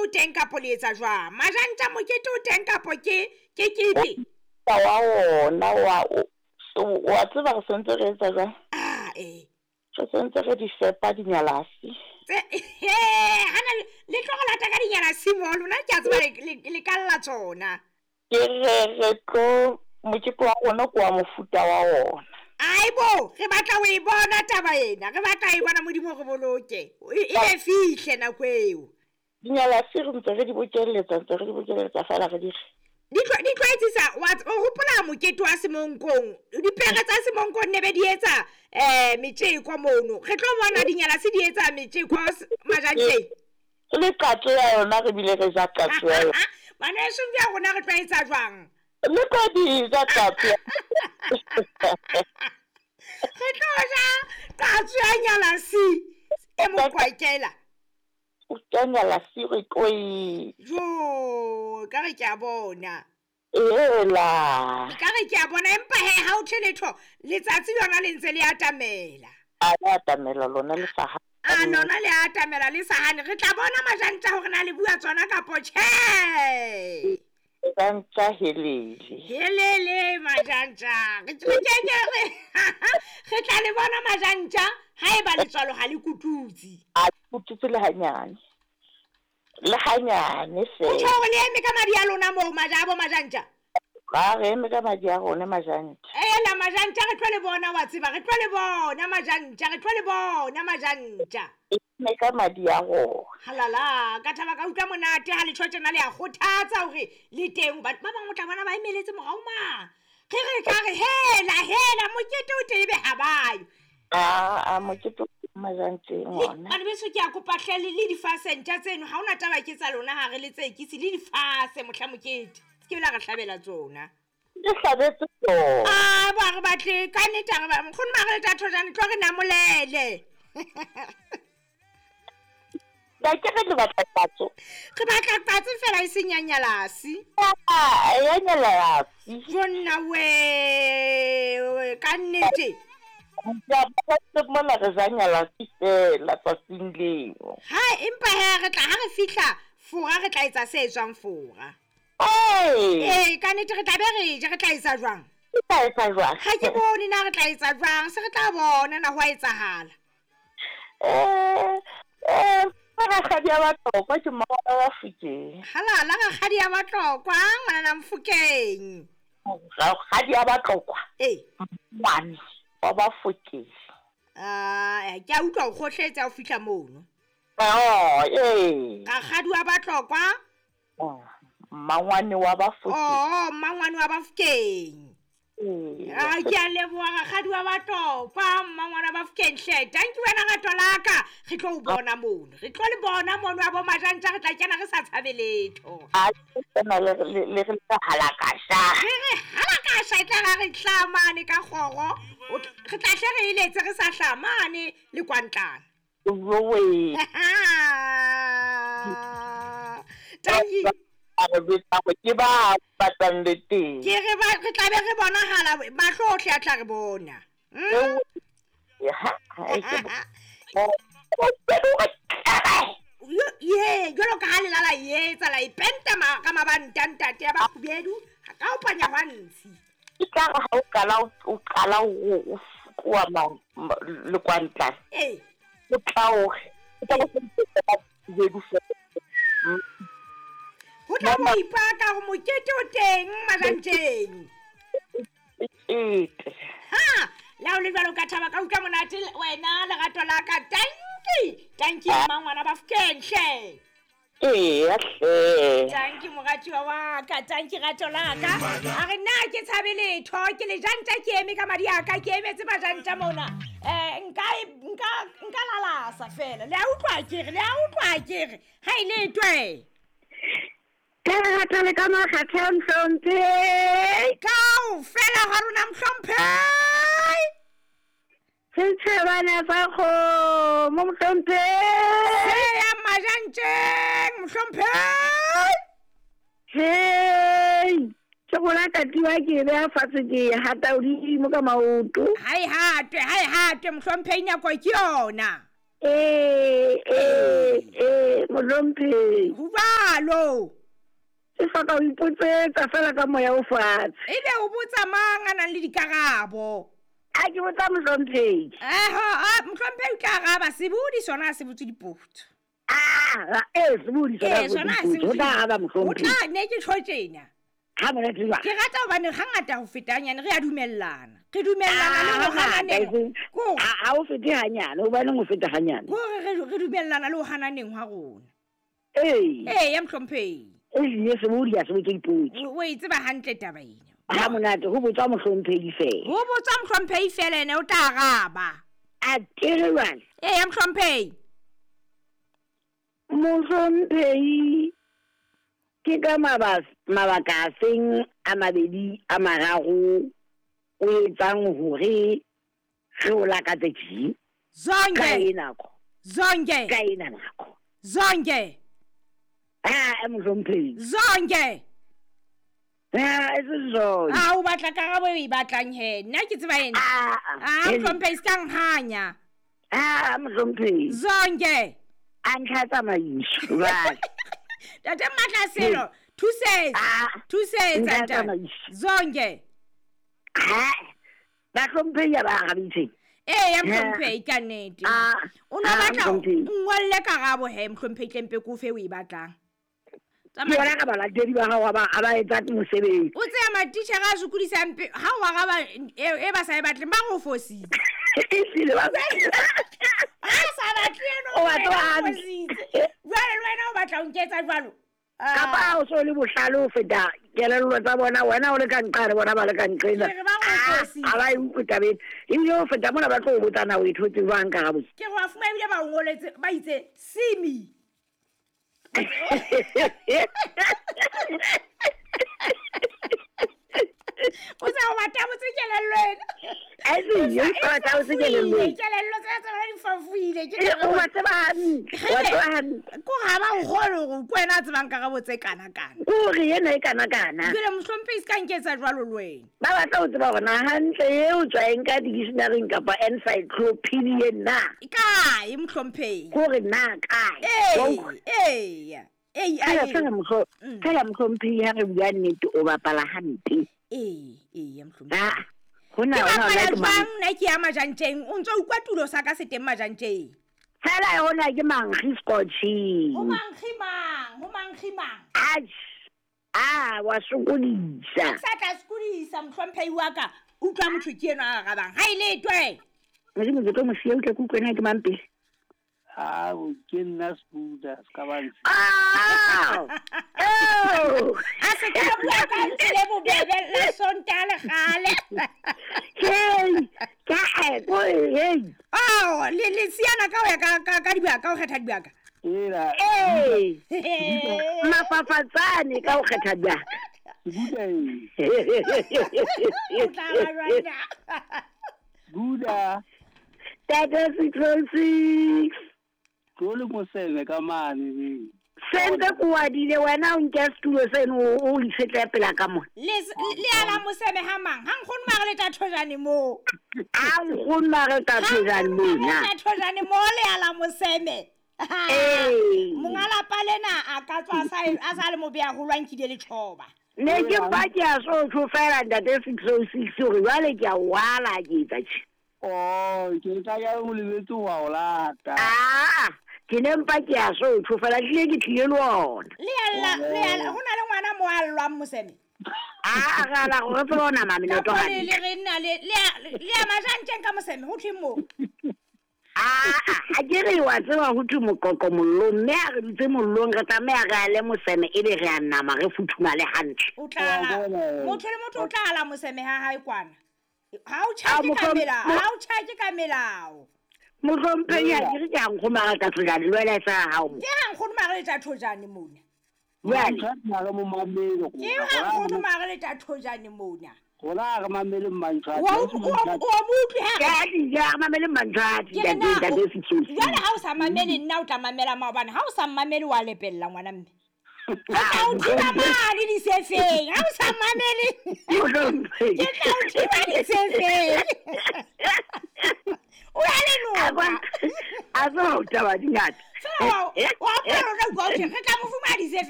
teng kapo le etsa jwang? Majantja mokete o teng kapo ke ke kepe? Wa ona wa wa tseba re sentse re etsa jwang? Ah eh. Re sentse re di fepa dinyalasi. Tse he hana le tlo go lata ka dinyalasi mo lona ke a tseba le ka lla tsona. Ke re tlo mokete wa rona ke wa mofuta wa ona. Aibo, re batla ho e bona taba ena. Re batla e bona Modimo re boloke. E be fihle nako eo. Dinyalasi re ntse re di bokelletsa, ntse re di bokelletsa fela re di di tlwaetsisa wa o hopola mokete wa Semonkong. Dipere tsa Semonkong ne be di etsa metjeko mono. Re tlo bona dinyalasi di etsa metjeko majanteng. Le qatso ya yona re bile re ja qatso ya yona. Bana eso bja rona re tlwaetsa jwang? Le tlo di ja qatso. Re tlo ja qatso ya nyalasi e mokwakela. O tla nyalasi re tlo e. Jo, ka re ke a bona. Ela. Ka re ke a bona empa he ha o tjheletho letsatsi lona le ntse le atamela. A le atamela lona le sa. A lona le atamela le sa hane. Re tla bona majantja hore na le bua tsona kapo tjhe. Majantja helele. Helele majantja. Re tla le bona majantja haeba letswalo ha le kututse. A kututse le hanyane. Le hanyane fela. O tjho hore le eme ka madi a lona moo majabo majantja. Ba re eme ka madi a rona majantja. Ela majantja re tlo le bona wa tseba re tlo le bona majantja re tlo le bona majantja. Eme ka madi a rona. Halala ka thaba ka utlwa monate ha le tjho tjena le a kgothatsa hore le teng batho ba bang o tla bona ba emeletse morao ma. Re re ka re hela hela mokete o teng be ha bayo. A mokete majantjeng ona. Bana beso ke a kopa hle le difasentja tseno ha ona taba ke tsa lona ha re le tsekisi le difase mohla mokete. Ke la re hlabela tsona. Le hlabetse tsona. Ah ba re batle ka nnete re ba nkgono ma re le tatho jane tlo re namolele. Ba ke re le batla qatso. Re batla qatso fela e seng ya nyalasi. Ah ya nyalasi. Jonna we ka nnete. Ya ba mona re ja nyalasi fela tsatsing leo. Ha empa he re tla ha re fihla fora re tla etsa se etswang fora. Eh, ka nnete re tla be re je re tla etsa jwang? Re tla etsa jwang? Ha ke bone na re tla etsa jwang, se re tla bona na ho a etsahala. Rakgadi ya Batlokwa ke mma wa Mofokeng. Halala rakgadi ya Batlokwa ngwana Mofokeng. Rakgadi ya Batlokwa. Eh. Ngwana wa Bafokeng. Ah, ke a utlwa o kgohletsa o fihla mono. Oh, eh. Rakgadi wa Batlokwa. Oh. Mmangwane wa Bafokeng. Oh, mmangwane wa Bafokeng. Ah, ke a leboha rakgadi wa Batlokwa, mmangwane wa Bafokeng hle. Thank you wena rato la ka. Re tlo o bona mono. Re tlo le bona mono wa bo majantja re tla kena re sa tshabe letho. A tsena le le re halakasha. Re re halakasha e tla ra re hlamane ka kgoro. Re tla hle re eletse re sa hlamane le kwantlana. Jowe. Thank you. Ke ba batlang le teng. Ke re ba re tla be re bonahala mahlo ohle a tla re bona. Ye, jwalo ka ha le lala etsa la ipenta ka mabanta ntate ya ba kgubedu ha ka o panya hwa ntshi. Ke tla re ha o qala o tloha le kwantlana. Eh. O tla o tla go kgubedu fela. Ho tla mo ipaka ho mokete o teng majantjeng. Ha, la o le jwalo ka thaba ka utlwa monate wena lerato la ka. Thank you. Thank you mmangwana Bafokeng hle. Eh, hle. Thank you moratuwa wa ka, thank you rato la ka. A re nna ke tshabe letho, ke le jantja ke eme ka madi a ka, ke emetse majantja mona. Nka lalasa fela. Le a utlwa ke re, le a utlwa ke re. Ha ile twe. Ka lerato le ka makgathe mohlomphehi. Kaofela ha rona mohlomphehi. Setjhabana sa kgomo mohlomphehi. Se ya majantjeng mohlomphehi. Hei, ke rona katiwa ke beha fatshe ke hata hodimo ka maoto. Ha e hatwe mohlomphehi nako ke yona. Eh, mohlomphehi. Ho jwalo. Jwalo. Ke hloka ho ipotsetsa fela ka moya o fatshe. Ebe o botsa mang a nang le dikarabo? A ke botsa mohlomphehi. Eho, a mohlomphehi o tla araba, sebodi sona ha se botse dipotso. Ah, ee, sebodi sona Ee, sona ha se o botse tla araba O mohlomphehi. tla ne ke tjho tjena. Ha monate jwang? Ke rata hobane hangata ho feta hanyane re a dumellana. Re dumellana le ho hananeng. Ko Ha o fete hanyane, hobaneng o feta hanyane? Kore re dumellana le ho hananeng hwa rona. Ee. Ee, ya mohlomphehi. Ehlile sebodi ha se botse dipotso. O e tseba hantle taba ena. Ha monate ho botswa mohlomphehi fela. Ho botswa mohlomphehi fela ene o tla araba. A kere jwale. Ee, ya mohlomphehi. Mohlomphehi ke ka mabaka a feng a mabedi a mararo o etsang hore re o lakatse tje? Zonke. Ka e nako. Zonke. Ka ena nako. Zonke. Ah, mohlomphehi. Zonke. Ah, e se zonke. Ah, o batla karabo e batlang he. Nna ke tseba ena. Ah, Ah, mohlomphehi se ka nhanya. Ah, mohlomphehi. Zonke. A ntlha tsamaiso jwale. Tate Matlaselo, thusetsa. Thusetsa Ntlha ntate. tsamaiso. Zonke. Ha. Bahlomphehi ha ba arabitseng. Ee, ya mohlomphehi ka nnete. Ah, O no ah, batla mohlomphehi. ngolle karabo he mohlomphehi tle mpe ke o fe o e batlang. Ke bona ka balatedi ba hao ha ba etsa mosebetsi. O tseba matitjhere a sokodisang ha o araba e ba sa e batleng ba re o fositse. Ehlile ba Ha sa batle eno O o ba tseba wena o hantle. fositse. Jwale le wena o batla ho nketsa jwalo. Kapa ha o so le bohlale ho feta kelello tsa bona, wena o le ka nqane, bona ba le ka nqena. Ke re ba re o Ah, fositse. ha ba e utlwe tabeng. Ebile ho feta mona ba tlo o botsa na o e thotse jwang karabo. Ke re wa fumana ebile ba o ngoletse ba itse simi. O sa o batla botse kelello ena. Ae, o sa batla botse kelello ena. Kelello tsa tsona di fafoile. Ke E, o ba tseba hantle, o ba tseba hantle. Ko ha ba o kgole hore ke wena a tsebang karabo tse kana-kana. Kore ena e kana-kana. Jwale mohlomphehi se ka nketsa jwalo le wena. Ba batla ho tseba hore na hantle eo tswa eng ka dictionary kapa encyclopedia na. Kae mohlomphehi? Kore na kae? Ee, ee. Ee, Fela, fela fela mohlomphehi ha re bua nnete o bapala hampe. Ee, ee, ya mohlomphehi. Ah, hona Ke hona bapala hona ke mang? jwang nna ke ya majantjeng? O ntso utlwa tulo sa ka se teng majantjeng. Fela hona ke mankgi scotching. Ho mankgi mang? Ho mankgi mang? Atjhe. Ah, wa sokodisa. Ke sa tla sokodisa mohlomphehi wa ka. Utlwa motho ke enwa a arabang. Ha e letwe. Modimo ke tlo mo siya, utlwe ke utlwe na ke mang pele. Ah, ke nna Sbuda, se ka ba ntse. Ah! Oh! A se ka bua ka ntle le bobebe la Sontaha le kgale. Hey, ka e, ko hey. Oh, le siana ka ho ya ka dibaka, ka ho kgetha dibaka. Ela. Hey. Mafafatsane ka ho kgetha dibaka. Sbuda e. O tla ba jwang na? Sbuda. Tate 606. Tlo le moseme ka mane ne. Sentse ko wadile wena o nke setulo seno o itshetleha pela ka mona. Le ala moseme ha mang? Ha nkgono mare le tla thojane moo. Ha nkgono mare tla thojane moo na. Ha nkgono mare tla thojane moo le ala moseme. Ee. Monga lapa lena a ka tswa a sa le mobe haholo a nkile letjhoba. Ne ke mpa ke a so tjho fela ntate 606 hore jwale ke a wala ke etsa tjhe. Oh, ke tla ya o lebetse wa o lata. Ah, ke ne mpa ke a so tjho fela tlile ke tlile le ona. Le alla, le alla, ho na le ngwana mo a llwang moseme. Ah, re ala gore tsebe ho nama menoto Ka hantle. le re nna le a majantjeng ka moseme ho thweng moo? Ah, ha ke re wa tseba ho thwe moqoqo mollong, mme ha re dutse mollong re tlameha re ale moseme ebe re a nama re futhumale hantle. O tla ala, motho le motho o tla ala moseme ha hae kwana. Ha o Ah, tjhake ka mohlom- melao, ha o tjhake ka melao. Mohlomphehi ha ke re ke ha nkgono mare tla thojane le wena e sa hao mo. Ke ha nkgono mare le tla thojane mona. Jwale. Mare mo mamele go. Ke ha nkgono mare le tla thojane mona. Rona re mamele Mmantshwati. Wa o mo utlwe ha Ke a di ja, re mamele Mmantshwati, Ke re ntate, na ntate 606. Jwale ha o sa mamele nna o tla mamela maobane, ha o sa mamele wa lepella ngwana mme. Ke tla o thiba mane disefeng, ha o sa mamele. Mohlomphehi. Ke tla o thiba disefeng. O ya le noka. A tseba ho taba di ngata. Fela wa hopola o tla utlwa ho thwe, re tla mo fumana disefeng.